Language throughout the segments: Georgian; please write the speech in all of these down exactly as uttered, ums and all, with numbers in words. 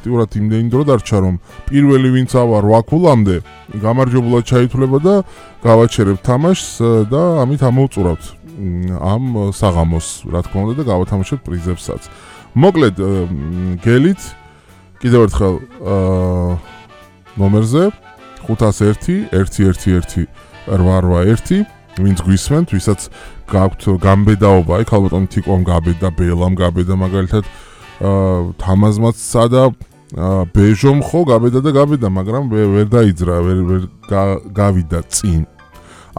ფაქტიურად იმდენი დრო დარჩა, რომ პირველი ვინც ავა რვა ქულამდე გამარჯვებულად ჩაითვლება და გავაჩერებ თამაშს და ამით ამოვწურავთ ამ საღამოს, რა თქმა უნდა და გავათამაშოთ პრიზებსაც. მოკლედ გელით კიდევ ერთხელ ნომერზე ხუთას ერთი ერთი ერთი ერთი რვა რვა ერთი ვინც გვისმენთ, ვისაც გაქვთ გამბედაობა, აი ქალბატონი თიკომ გაბედა, ბელამ გაბედა მაგალითად თამაზმაცსა და ბეჟომ ხო გაბედა და გაბედა, მაგრამ ვერ დაიძრა, ვერ ვერ გავიდა წინ.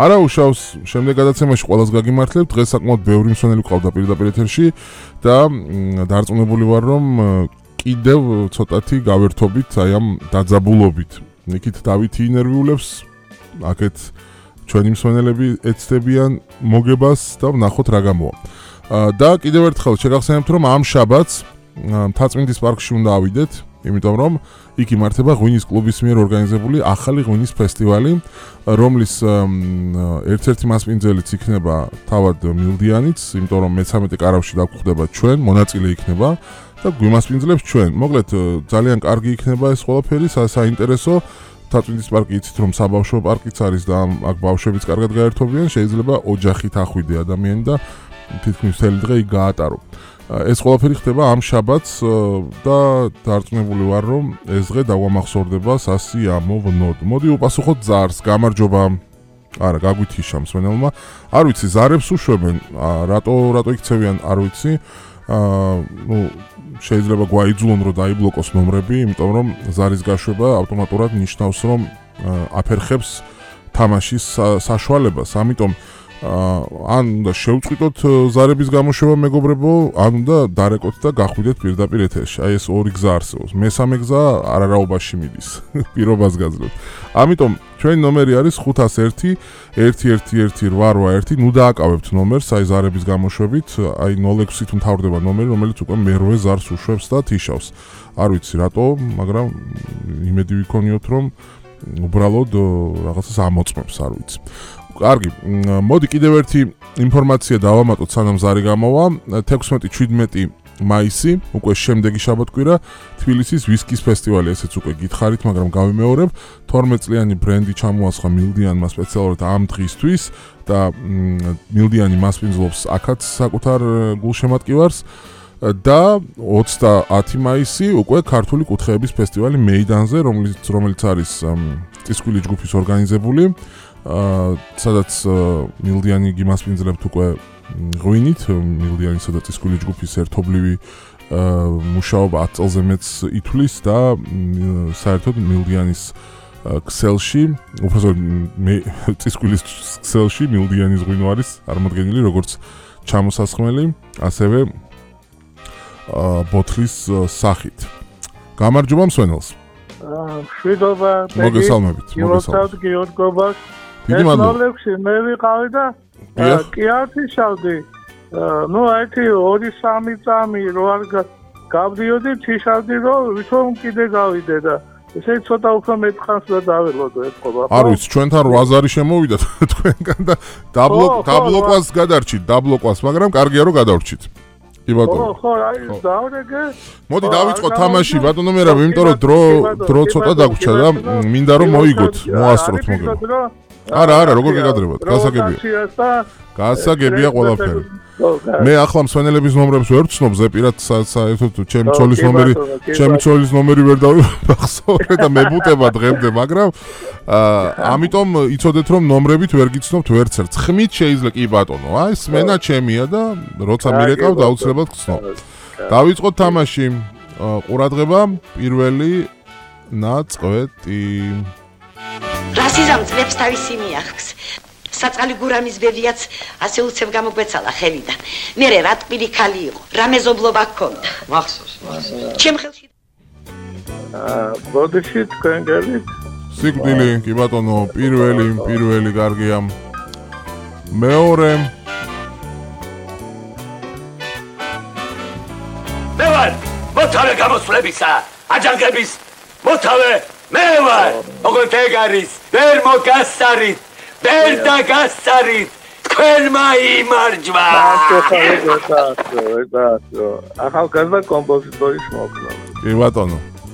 არა უშავს შემდეგ გადაცემაში ყველას გაგიმართლებთ, დღეს საკმაოდ ბევრი მსმენელი ყავდა პირდაპირ ეთერში და დარწმუნებული ვარ, რომ კიდევ ცოტათი გავერთობით აი ამ დაძაბულობით. იქით დავითი ინერვიულებს, აქეთ ჩვენი მსმენელები ეცდებიან მოგებას და ვნახოთ რა გამოვა. და კიდევ ერთხელ შეგახსენებთ, რომ ამ შაბათს მთაწმინდის პარკში უნდა ავიდეთ, იმიტომ რომ იქ იმართება ღვინის კლუბის მიერ ორგანიზებული ახალი ღვინის ფესტივალი, რომლის ერთ-ერთი მასპინძელიც იქნება თავად მილდიანიც, იმიტომ რომ მესამეტე კარავში დაგვხვდება ჩვენ, მონაწილე იქნება და გვიმასპინძლებს ჩვენ. მოკლედ ძალიან კარგი იქნება ეს ყველაფერი, საინტერესო. მთაწმინდის პარკი იცით რომ საბავშვო პარკიც არის და აქ ბავშვებიც კარგად გაერთობიან, შეიძლება ოჯახით ახვიდე ადამიანი და თითქმის მთელი დღე იქ გაატარო. ეს ყველაფერი ხდება ამ შაბათს და დარწმუნებული ვარ, რომ ეს დღე დაგვამახსოვრდება სასიამოვნოდ. მოდი უპასუხოთ ზარს, გამარჯობა. არა, გაგვითიშა მსმენელმა. არ ვიცი, ზარებს უშვებენ, რატო რატო იქცევიან, არ ვიცი. აა, ნუ შეიძლება გვაიძულონ რომ დაიბლოკოს ნომრები, იმიტომ რომ ზარის გაშვება ავტომატურად ნიშნავს, რომ აფერხებს თამაშის საშუალებას. ამიტომ ან უნდა შევწყვიტოთ ზარების გამოშვება მეგობრებო, ან უნდა დარეკოთ და გახვიდეთ პირდაპირ ეთერში. აი ეს ორი გზა არსებობს. მესამე გზა არარაობაში მიდის. პირობას გაძლევთ. ამიტომ ჩვენი ნომერი არის ხუთას ერთი ერთი ერთი ერთი რვა რვა ერთი. ნუ დააკავებთ ნომერს, აი ზარების გამოშვებით, აი ნულ ექვსი თუ მთავრდება ნომერი, რომელიც უკვე მერვე ზარს უშვებს და თიშავს. არ ვიცი რატო, მაგრამ იმედი ვიქონიოთ, რომ უბრალოდ რაღაცას ამოწმებს, არ ვიცი. კარგი, მოდი კიდევ ერთი ინფორმაცია დავამატოთ, სანამ ზარი გამოვა. თექვსმეტი შვიდმეტი მაისი, უკვე შემდეგი შაბათ-კვირა, თბილისის ვისკის ფესტივალი, ესეც უკვე გითხარით, მაგრამ გავიმეორებ. თორმეტ წლიანი ბრენდი ჩამოასხა მილდიანმა სპეციალურად ამ დღისთვის და მილდიანი მასპინძლობს აქაც საკუთარ გულშემატკივარს. და ოცდაათი მაისი უკვე ქართული კუთხეების ფესტივალი მეიდანზე, რომელიც რომელიც არის წისქვილი ჯგუფის ორგანიზებული. სადაც მილდიანი გიმასპინძლებთ უკვე ღვინით, მილდიანისა და წისქვილი ჯგუფის ერთობლივი მუშაობა ათ წელზე მეც ითვლის და საერთოდ მილდიანის ქსელში, უბრალოდ წისქვილის ქსელში მილდიანის ღვინო არის წარმოდგენილი როგორც ჩამოსასხმელი, ასევე ბოთლის სახით. გამარჯობა მსვენელს. მშვიდობა, მოგესალმებით, მოგესალმებით, გიორგობას. დიდი მადლობა. ნოლექსი მე ვიყავი და კი არ თიშავდი. ნუ ერთი ორი სამი წამი რო არ გავდიოდი, თიშავდი რომ ვითომ კიდე გავიდე და ესე ცოტა უფრო მეტხანს და დაველოდო ეთქობა. არ ვიცი, ჩვენთან რვაზარი შემოვიდა თქვენგან და დაბლოკ დაბლოკვას გადარჩით, დაბლოკვას, მაგრამ კარგია რომ გადავრჩით. კი ბატონო. ხო, ხო, აი დავრეგე. მოდი დავიწყოთ თამაში, ბატონო მერაბ, იმიტომ რომ დრო დრო ცოტა დაგვრჩა და მინდა რომ მოიგოთ, მოასწროთ მოგება. არა, არა, როგორ გეკადრებათ? გასაგებია. გასაგებია ყველაფერი. მე ახლა მსვენელების ნომრებს ვერ ვცნობ, ზეპირად საერთოდ ჩემი ცოლის ნომერი, ჩემი ცოლის ნომერი ვერ დავახსოვრე და მებუტება დღემდე, მაგრამ ამიტომ იცოდეთ რომ ნომრებით ვერ გიცნობთ ვერც ერთ. ხმით შეიძლება კი ბატონო, აი სმენა ჩემია და როცა მირეკავ დაუცლებად გცნობ. დავიწყოთ თამაში. ყურადღება, პირველი ნაწყვეტი. რასიზამ წლებს თავისი მიახს. საწყალი გურამის ბებიაც ასე უცებ გამოგვეცალა ხელიდან. მე რა ტყილი ქალი იყო, რა მეზობლობა ჰქონდა. მახსოვს, მახსოვს. ჩემ ხელში აა, ბოდიში თქვენ გელით? სიკვდილი, კი ბატონო, პირველი, პირველი კარგია. მეორე. მე ვარ მოთავე გამოსვლებისა, აჯანყების მოთავე მე ვარ. ოღონდ ეგ არის, ვერ მოგასარით. ვერ დაგასარით, თქვენმა იმარჯვა. ახალგაზრდა კომპოზიტორის მოხდა. კი ბატონო.